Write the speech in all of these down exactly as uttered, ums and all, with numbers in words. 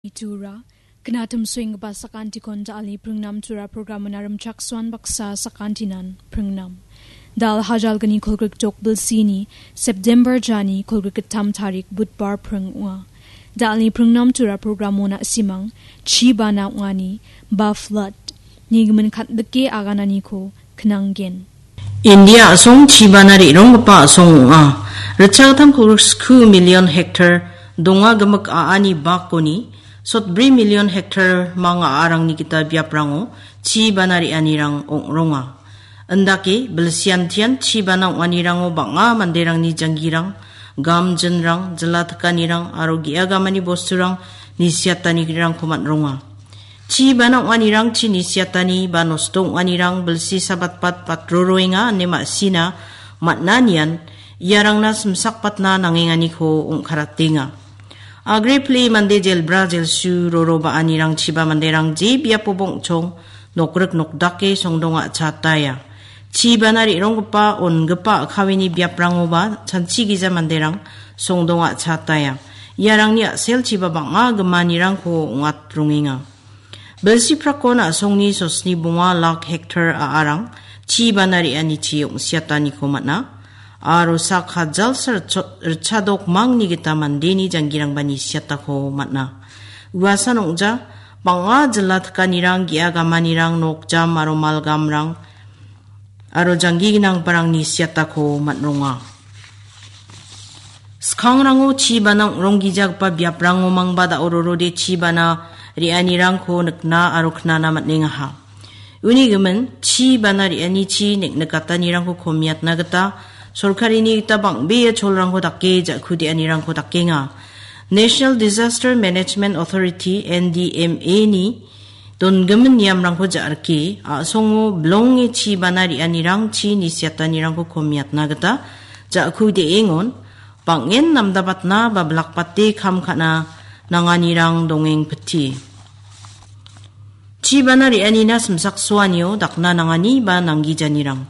Itura, knatim suenggipa sakantikon dalni pringnam tura programon arim chaksuan baksa sakantinan pringnam. Dal hajalgni kolgrik jok bilsini September jani kolgrik gittam tarik Budbar pring ua. Dalni pringnam tura programona simang, chibana ungani, ba flood, nigimin katbike agananiko knanggen. India a·song chibana re·ronggipa a·song ong·a. Ritchagittam kolgrik sku million hektar donga gimik a·ani bakoni sotbri million hektar mang a·arangni gita biaprango chibana re·anirang ong·ronga. Indake bilsiantian chibana ong·anirango bang·a manderangni janggirang, gamjinrang, jila tikanirang aro ge·agamani bosturang nisiatanirangko man·ronga. Chibana ong·anirang chi nisiatani ba nosto ong·anirang bilsi sabatbat batroroenga ine ma·sina man·anian iarangna simsakbatna nangenganiko ong·karatenga. Agre pile mande jelbra jelsu roro ba·anirang chiba manderang je biapoba ong·chong nokrik nokdake songdonga chataya. Chibana re·ronggipa ongipa a·kawini biaprangoba chanchigija manderang songdonga chataya. Iarangni a·selchiba bang·a gimanirangko ong·atrongenga. Bilsi prakon a·songni sosni bonga lak hektar a·arang chibana re·anichi ong·siataniko man·a. Aro sak hajalsa ritcho-, ritchadok mangni gita mandeni janggirangba nisiatako man·a. Uasan ong·ja, bang·a jila tikanirang, ge·a gamanirang, nokjam aro malgamrang, aro janggi ginangbarangni siatako man·ronga. Skangrango chibana ong·ronggijagipa biaprango mangba da·o rorode chibana re·anirangko nikna aro knana man·engaha. Uni gimin, chibana re·anichi nek-, nikatanirangko komiatna gita sorkarini gita bang·bea cholrangko dake ja·kudeanirangko dakenga. National Disaster Management Authority, N D M A-ni dongimin niamrangko ja·rike, a·songo bilonge chibana re·anirangchi nisiatanirangko komiatna gita ja·kude·engon, bang·en namdabatna ba bilakbate kam ka·na nanganirang dongengpiti. Chibana re·anina simsaksoanio dakna nangani ba nanggijanirang.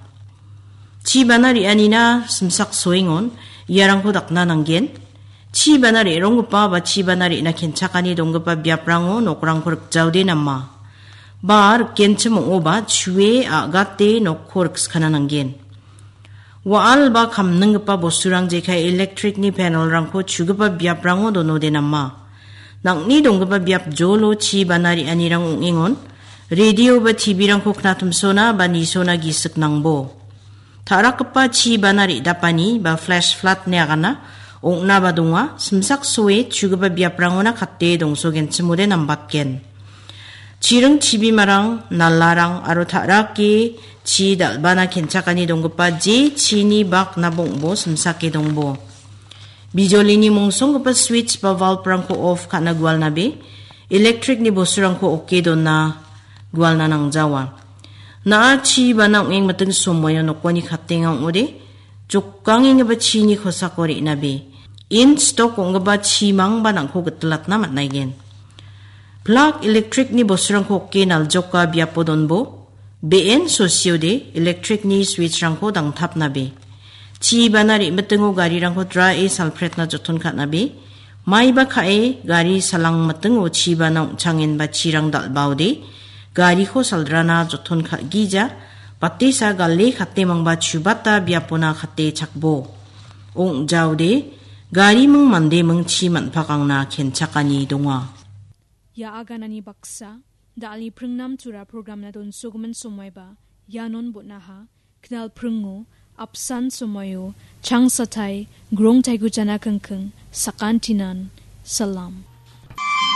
Chibana re·anina simsaksoengon iarangko dakna nanggen. Chibana re·ronggipa ba chibana re·na kenchakani donggipa biaprango nokrangko rikjaode nama. Ba rikgenchim ong·oba chue a·gate nokko rikskana nanggen. Wa·al ba kamninggipa bosturang jekai electric-ni panel-rangko chugipa biaprango donode nama. Nang·ni donggipa biap jolo chibana re·anirang ong·engon, radio ba T V-rangko knatimsona ba nisona gisik nangbo. Ta·rakgipa chibana re·dapani ba flash flood-ni agana ong·naba donga, simsaksoe chugipa biaprangona kate dongsogenchimode nambatgen. Chiring chibimarang, nalarang aro ta·rake chi dal·bana kenchakani donggipa je chini bak nabongbo simsake dongbo. Bijolini mongsonggipa switch ba valve-rangko off ka·na gualnabe, electric-ni bosturangko oke dona gualna nangjawa. Na·a chibana ong·engmiting somoio nokoni katenga ong·ode, jokangenggipa chini kosako re·nabe, in stok ong·gipa chimangba nang·ko gitilatna man·aigen. Plak electric-ni bosturangko oke naljoka biapo donbo, be·en sosiode electric-ni switch-rangko dangtapnabe. Chibana re·mitingo garirangko drae salpretna joton ka·nabe. Maiba ka·e gari salangmitingo chibana ong·changenba chirang dal·baode gariko saldrana joton ka·gija, batesa gale katemangba chubata biapona kate chakbo. Ong·jaode gariming mandeming chi man·pakangna kenchakani donga. Ia aganani baksa, da·alni pringnam tura programna donsogimin somoiba, ianon bon·aha, knal pringo, apsan somoio, changsatai, grong taigujana kingking, sakantinan, salam.